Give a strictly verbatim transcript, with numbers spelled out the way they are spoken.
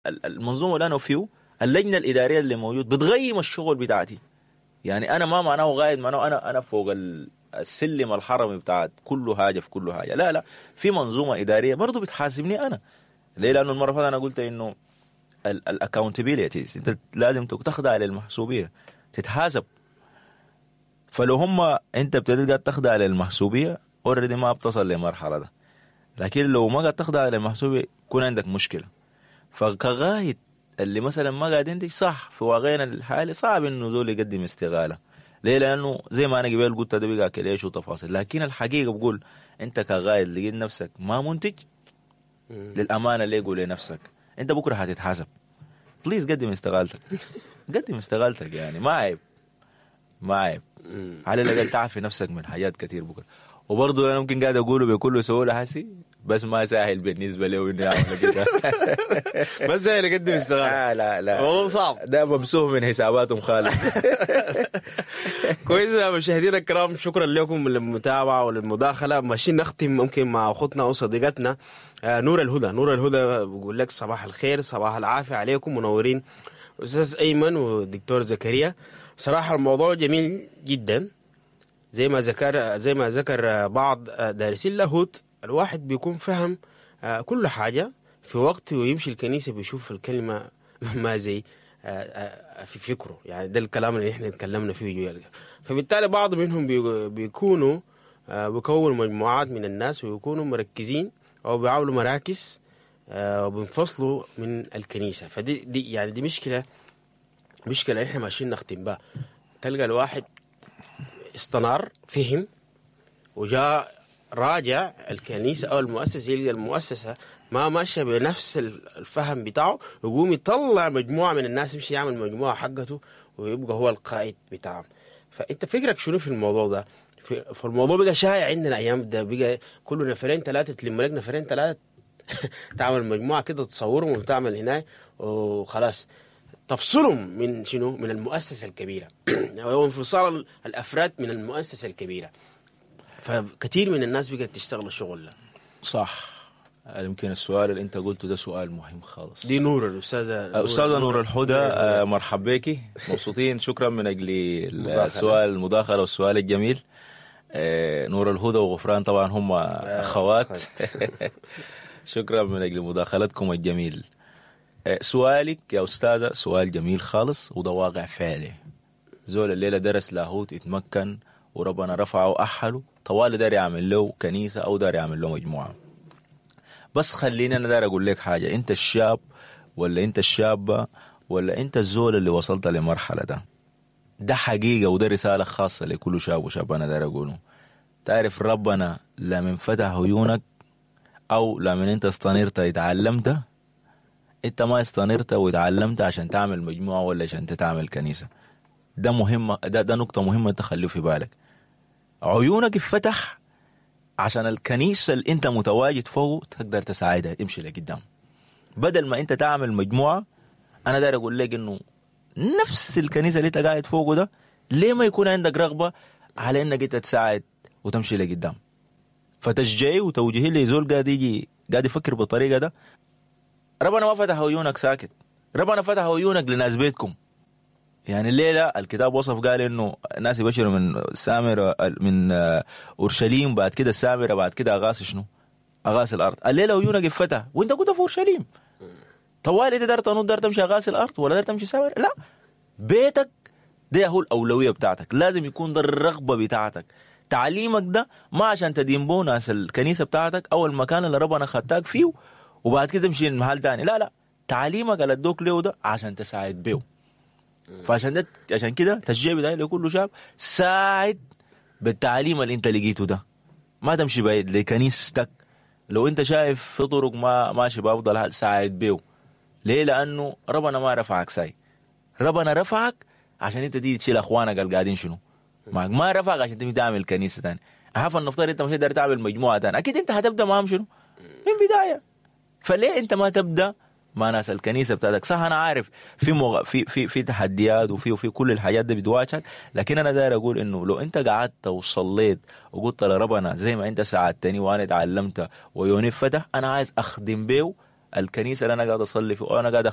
المنظومة اللي انا فيه، اللجنة الادارية اللي موجود بتغيم الشغل بتاعتي. يعني انا ما معناه قائد معناه انا انا فوق السلم الحرمي بتاعت كل حاجة في كل حاجة، لا لا، في منظومة ادارية برضه بتحاسبني انا. ليه؟ لانه المرة اللي انا قلت انه ال accountabilities انت لازم تخضع للمحسوبيه، تتحاسب. فلو هم انت ابتديت قاعد تخضع للمحسوبيه already ما بتصل لمرحلة ده، لكن لو ما قاعد تخضع للمحسوبيه يكون عندك مشكلة. فكقائد اللي مثلا ما قاعد ينتج صح في واقعنا الحالي صعب انه زول يقدم استقالة. ليه؟ لانه زي ما انا قبل قلت ده بقى كليش وتفاصيل، لكن الحقيقة بقول انت كقائد لقيت نفسك ما منتج للامانة، ليه قول لنفسك انت بكره هتتحاسب، please قدم استقالتك. قدم استقالتك، يعني ما عيب، ما عيب، على الاقل تعفي نفسك من حاجات كثير بكره. وبرضه انا ممكن قاعد اقوله بكل سهولة حسي، بس ما سهل بالنسبة له انه يعمل كده. بس سهل يقدم استقالة. لا لا لا، الموضوع صعب، ده ممسوح من حساباتهم خالص. كويس يا مشاهدينا الكرام، شكرا لكم للمتابعة وللمداخله. ماشيين نختم ممكن مع اختنا وصديقتنا نور الهدى. نور الهدى بقول لك صباح الخير، صباح العافية عليكم، منورين استاذ ايمن والدكتور زكريا. صراحة الموضوع جميل جدا، زي ما ذكر زي ما ذكر بعض دارسين اللاهوت، الواحد بيكون فهم كل حاجة في وقت ويمشي الكنيسة بيشوف الكلمة ما زي في فكرة، يعني ده الكلام اللي احنا اتكلمنا فيه. فبالتالي بعض منهم بيكونوا بيكونوا مجموعات من الناس ويكونوا مركزين او بيعملوا مراكز وبينفصلوا من الكنيسة. فدي دي يعني دي مشكلة، مشكلة احنا ماشيين نختم بها. تلقى الواحد استنار فهم وجاء راجع الكنيسة أو المؤسسة، يلقى المؤسسة ما ماشية بنفس الفهم بتاعه، يقوم يطلع مجموعة من الناس، يمشي يعمل مجموعة حقته ويبقى هو القائد بتاعهم. فأنت فكرك شنو في الموضوع ده؟ في الموضوع بقى شائع عندنا أيام ده، بقى كل نفرين ثلاثة تلم لك نفرين ثلاثة تعمل مجموعة كده تصورهم وتعمل هناك وخلاص تفصلهم من شنو؟ من المؤسسة الكبيرة. هو انفصال الأفراد من المؤسسة الكبيرة. فكثير من الناس بقت تشتغل الشغل ده. صح. يمكن السؤال اللي انت قلته ده سؤال مهم خالص. دي نور الأستاذة أستاذة نور الهدى، آه مرحبا بك، مبسوطين، شكرا من أجل السؤال المداخلة والسؤال الجميل. آه نور الهدى وغفران طبعا هم أخوات. شكرا من أجل مداخلتكم الجميل. سؤالك يا أستاذة سؤال جميل خالص، وده واقع فعلي. زول الليلة درس لاهوت اتمكن وربنا رفعه وأحله، طوال دار يعمل له كنيسة أو دار يعمل له مجموعة. بس خليني أنا دار أقول لك حاجة، أنت الشاب ولا أنت الشابة ولا أنت الزول اللي وصلت لمرحلة ده، ده حقيقة وده رسالة خاصة لكل شاب وشاب. أنا دار أقوله، تعرف ربنا لا من فتح عيونك أو لا من أنت استنيرت اتعلمت، انت ما استنرت وتعلمت عشان تعمل مجموعة ولا عشان تعمل كنيسة. ده مهمة، ده ده نقطة مهمة تخليه في بالك. عيونك اتفتح عشان الكنيسة اللي انت متواجد فوق تقدر تساعدها تمشي لقدام. بدل ما انت تعمل مجموعة، انا داير اقول لك انه نفس الكنيسة اللي انت قاعد فوقه ده ليه ما يكون عندك رغبة على انك انت تساعد وتمشي لقدام؟ فتشجيعي وتوجيهي لزول قاعد يجي قاعد يفكر بالطريقة ده، ربنا ما فتح عيونك ساكت، ربنا فتح عيونك لناس بيتكم. يعني الليلة الكتاب وصف قال انه الناس يبشروا من سامرة من اورشليم، بعد كده السامرة، بعد كده اغاث شنو؟ اغاث الارض. الليلة عيونك اتفتح وانت كنت في اورشليم، طوال انت دار تنط دار تمشي اغاث الارض ولا دار تمشي سامرة؟ لا، بيتك ده هو الاولوية بتاعتك، لازم يكون ده الرغبة بتاعتك. تعليمك ده ما عشان تدين بو ناس الكنيسة بتاعتك او المكان اللي ربنا خدتك فيه وبعد كده تمشي المحل تاني، لا لا، تعليمك اللي ادوك له ده عشان تساعد بيه. فعشان ده عشان كده تشجيع بتاعي لكل شاب، ساعد بالتعليم اللي انت لقيته ده، ما تمشي بعيد لكنيستك. لو انت شايف في طرق ما ماشي بافضل حال ساعد بيه. ليه؟ لانه ربنا ما رفعك ساي، ربنا رفعك عشان انت تيجي تشيل اخوانك اللي قاعدين شنو معك، ما رفعك عشان تيجي تعمل كنيسة تاني. عارف النفترض انت مش قادر تعمل مجموعة تاني، اكيد انت هتبدا معهم شنو من بداية. فليه انت ما تبدا مع ناس الكنيسة بتاعتك؟ صح انا عارف في مغ... في في في تحديات وفي وفي كل الحاجات دي بتواجهك، لكن انا داير اقول انه لو انت قعدت وصليت وقلت لربنا زي ما انت ساعدتني وانا اتعلمت ويوني فتح، انا عايز اخدم بيه الكنيسة اللي انا قاعد اصلي فيه وانا قاعد